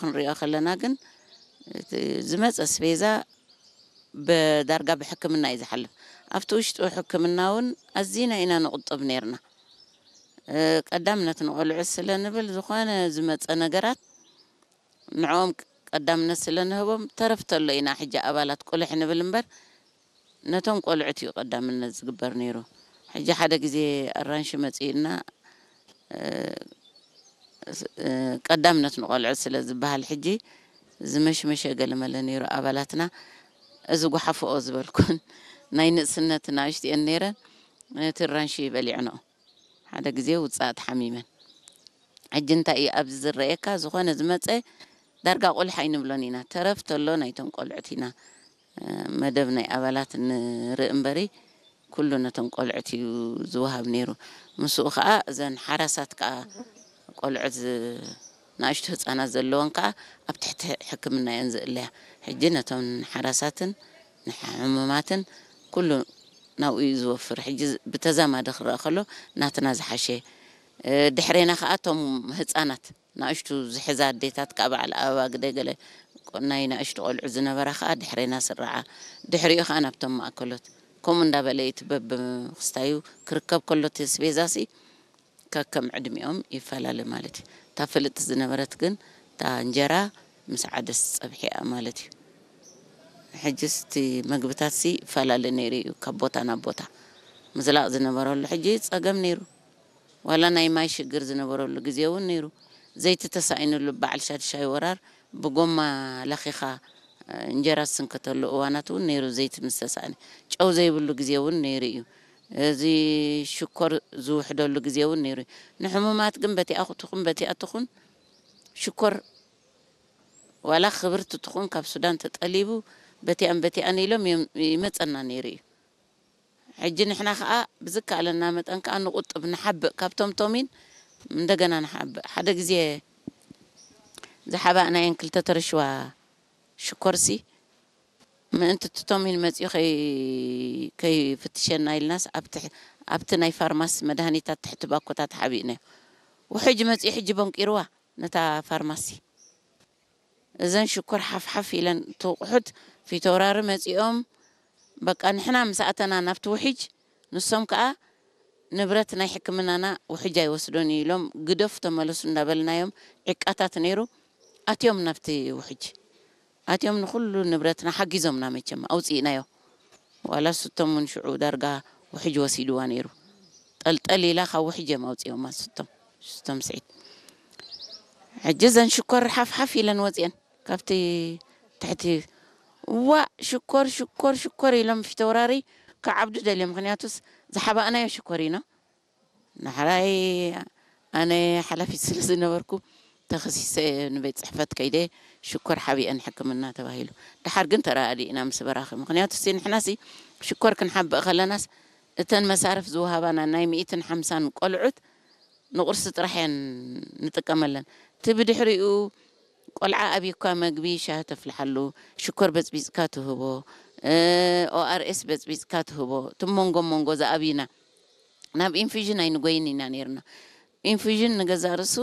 ክንሪኦ ከለና ግን፣ እቲ ዝመጸ ኣስቤዛ ብዳርጋ ብሕክምና እዩ ዝሓልፍ። ኣብቲ ውሽጡ ሕክምና እውን ኣዚና ኢና ንቑጥብ ነይርና። እ፣ ቀዳምነት ንቖልዑ ስለ ንብል፣ ዝኾነ ዝመጸ ነገራት ንዕኦም ቀዳምነት ስለ ንህቦም፣ ተረፍ ተሎ ኢና ሕጂ ኣባላት ቁልሕ ንብል እምበር፣ ነቶም ቆልዑት እዩ ቀዳምነት ዝግበር ነይሩ። ሕጂ ሓደ ግዜ ኣራንሺ መጺኡና፣ እ፣ እ፣ ቀዳምነት ንቆልዑት ስለ ዝበሃል፣ ሕጂ ዝመሽመሸ ገለመለ ነይሩ ኣባላትና። እዚ ጓሓፍኦ ዝበልኩን ናይ ንእስነት ንኣሽትኤን ነይረን፣ ነቲ ኣራንሺ በሊዕንኦ። ሓደ ግዜ ውጽኣት ሓሚመን። ሕጂ እንታይ እዩ ኣብዚ ዝረኣየካ? ዝኾነ ዝመጸ ዳርጋ ቁልሕ ኣይንብሎን ኢና። ተረፍ ተሎ ናይቶም ቆልዑት ኢና፣ እ፣ መደብ ናይ ኣባላት ንርኢ እምበሪ፣ ኩሉ ነቶም ቆልዑት እዩ ዝወሃብ ነይሩ። ምስኡ ኸኣ እዘን ሓራሳት ከኣ ቆልዑት ዝ-፣ ንኣሽቱ ህጻናት ዘለወን ከኣ ኣብ ትሕቲ ሕክምና እየን ዝእለያ። ሕጂ ነቶም ሓራሳትን ንሕሙማትን ኩሉ ናብኡ እዩ ዝወፍር። ሕጂ ዝ-፣ ብተዛማዲ ክረኣ ከሎ ናትና ዝሓሸ። እ፣ ድሕሬና ከኣ እቶም ህጻናት ንኣሽቱ ዝሕዛ ኣዴታት ከኣ በዓል ኣበባ ግደ ገለ ቆ-፣ ናይ ንኣሽቱ ቆልዑ ዝነበራ ከኣ ድሕሬና ስርዓ። ድሕሪኡ ከኣ ናብቶም ማእከሎት። ከምኡ እንዳበለ እዩ እቲ በብክስታዩ ክርከብ ከሎ እቲ ኣስቤዛሲ ከከም ዕድሚኦም ይፈላለ ማለት እዩ። እታ ፍልጥቲ ዝነበረት ግን እታ እንጀራ ምስ ዓደስ ጸብሒ እያ ማለት እዩ። ሕጅስ እቲ መግብታትሲ ይፈላለ ነይሩ እዩ ካብ ቦታ ናብ ቦታ። ምዝላቕ ዝነበረሉ ሕጂ ጸገም ነይሩ። ዋላ ናይ ማይ ሽግር ዝነበረሉ ግዜ እውን ነይሩ። ዘይቲ ተሳኢኑሉ በዓል ሻድሻይ ወራር ብጎማ ለኺኻ፣ እ፣ እንጀራ ዝስንከተሉ እዋናት እውን ነይሩ፣ ዘይቲ ምስ ተሳእነ። ጨው ዘይብሉ ግዜ እውን ነይሩ እዩ። እዚ ሽኮር ዝውሕደሉ ግዜ እውን ነይሩ እዩ። ንሕሙማት ግን በቲኣ ትኹን በቲኣ ትኹን ሽኮር ዋላ ክብርቲ ትኹን ካብ ሱዳን ተጠሊቡ በቲኣን በቲኣን ኢሎም እዮም ይመጸና ነይሩ እዩ። ሕጂ ንሕና ከኣ ብዝከኣለና መጠን ከኣ ንቑጥብ፣ ንሓብእ፣ ካብቶም ቶሚን እንደገና ንሓብእ። ሓደ ግዜ ዝሓባእናየን ክልተ ተረሽዋ ሽኮርሲ ምእንቲ እቲ ቶሚን መጺኡ ከይ-፣ ከይፍትሸና ኢልናስ ኣብ ትሕ-፣ ኣብቲ ናይ ፋርማሲ መድሃኒታት ትሕቲ ባኮታት ሓቢእናዮ። ውሕጅ መጺኡ ሕጂ በንቂርዋ ነታ ፋርማሲ። እዘን ሽኮር ሓፍሓፍ ኢለን፣ እቲ ኣቑሑት ፊተውራሪ መጺኦም፣ በቃ ንሕና ምስ ኣተና ናብቲ ውሒጅ፣ ንሶም ከኣ ንብረት ናይ ሕክምናና ውሒጅ ኣይወስዶን እዩ ኢሎም፣ ግደፉ ተመለሱ እንዳበልናዮም፣ ዕቃታት ነይሩ፣ ኣትዮም ናብቲ ውሒጅ። ኣትዮም ንኹሉ ንብረትና ሓጊዞምና፣ መቸም ኣውጺእናዮ። ዋላ ስቶም እውን ሽዑ ዳርጋ ውሕጅ ወሲድዋ ነይሩ። ጠልጠል ኢላ ካብ ውሕጅ እዮም ኣውጺኦማ ስቶም፣ ስቶም ስዒድ። ሕጂ እዘን ሽኮር ሓፍሓፍ ኢለን ወጺአን ካብቲ ትሕቲ። እዋእ ሽኮር፣ ሽኮር፣ ሽኮር ኢሎም ፊተውራሪ ክዓብዱ ደልዮም። ምኽንያቱስ ዝሓባእናዮ ሽኮር ኢና። ንሕራይ ኣነ ሓላፊት ስለ ዝነበርኩ ተኸሲሰ ንቤት ጽሕፈት ከይደ ሽኮር ሓቢአን ሕክምና ተባሂሉ። ደሓር ግን ተረኣዲእና ምስ በራኺ። ምኽንያቱ ሲ ንሕና ሲ ሽኮር ክንሓብእ ከለናስ እተን መሳርፍ ዝወሃባና ናይ ሚእትን ሓምሳን ቆልዑት ንቁርሲ ጥራሕ እየን ንጥቀመለን። እቲ ብድሕሪኡ ቆልዓ ኣብዩካ መግቢ ሻሂ ተፍልሓሉ፣ ሽኮር በጽቢጽካ ትህቦ፣ እ፣ ኦኣርኤስ በጽቢጽካ ትህቦ። እቲ መንጎ መንጎ ዝኣብዩና ናብ ኢንፊዥን ኣይንጎይን ኢና ነይርና። ኢንፊዥን ንገዛእ ርእሱ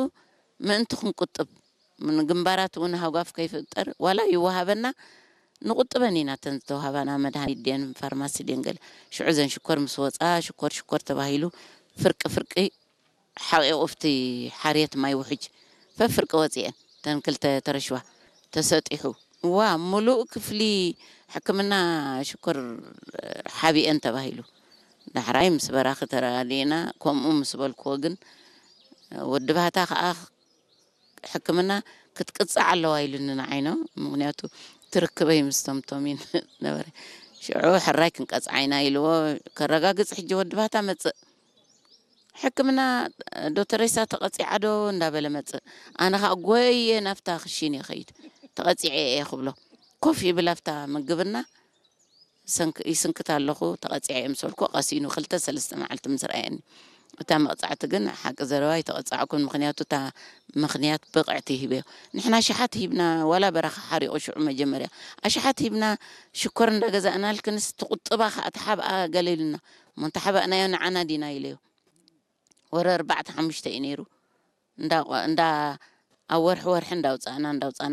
ምእንቲ ክንቁጥብ፣ ምን-፣ ግንባራት እውን ሃጓፍ ከይፍጠር፣ ዋላ ይወሃበና፣ ንቁጥበን ኢና። እተን ዝተዋህባና መድሃኒት ድየን ፋርማሲ ድየን ገለ። ሽዑ እዘን ሽኮር ምስ ወፃ፣ ሽኮር ሽኮር ተባሂሉ ፍርቂ ፍርቂ ሓቂቑ ኣብቲ ሓርየት ማይ ውሕጅ ፈፍርቂ ወፂአን። እተን ክልተ ተረሽዋ ተሰጢሑ። እዋ፣ ምሉእ ክፍሊ ሕክምና ሽኮር ሓቢአን ተባሂሉ። ዳሕራይ ምስ በራኺ ተረዳዲእና፣ ከምኡ ምስ በልክዎ ግን፣ ወዲ ባህታ ከኣ ሕክምና ክትቅጻዕ ኣለዋ ኢሉኒ ንዓይ ነው። ምኽንያቱ ትርክበይ ምስቶም ቶሚን ነበረ። ሽዑ ሕራይ ክንቀጽዓ ኢና ኢልዎ፣ ከረጋግጽ ሕጂ ወዲ ባህታ መጽእ። ሕክምና ዶ ተሬሳ ተቐጺዓ ዶ እንዳበለ መጽእ። ኣነ ኸኣ ጎየ ናብታ ክሽን ይኸይድ። ተቐጺዐ እየ ክብሎ። ኮፍ ይብል ኣብታ ምግብና፣ ሰንክ-፣ ይስንክት ኣለኹ፣ ተቐጺዐ እየ ምስ በልኩ፣ ቀሲኑ ክልተ ሰለስተ መዓልቲ ምስ ረኣየኒ። እታ መቕጻዕቲ ግን ሓቂ ዘረባ ኣይተቐጻዕኩን፣ ምኽንያቱ እታ ምኽንያት ብቕዕቲ ሂበዮ። ንሕና ኣሽሓት ሂብና፣ ዋላ በረኻ ሓሪቑ ሽዑ መጀመርያ። ኣሽሓት ሂብና፣ ሽኮር እንዳገዛእናልክንስ ትቑጥባ ኸኣ ትሓብኣ ገለ ኢሉና። እሞ እንተሓባእናዮ ንዓና ዲና ኢለዮ። ወረ ኣርባዕተ ሓሙሽተ እዩ ነይሩ። እንዳ፣ እንዳ፣ ኣብ ወርሒ ወርሒ እንዳውጻእና፣ እንዳውጻእና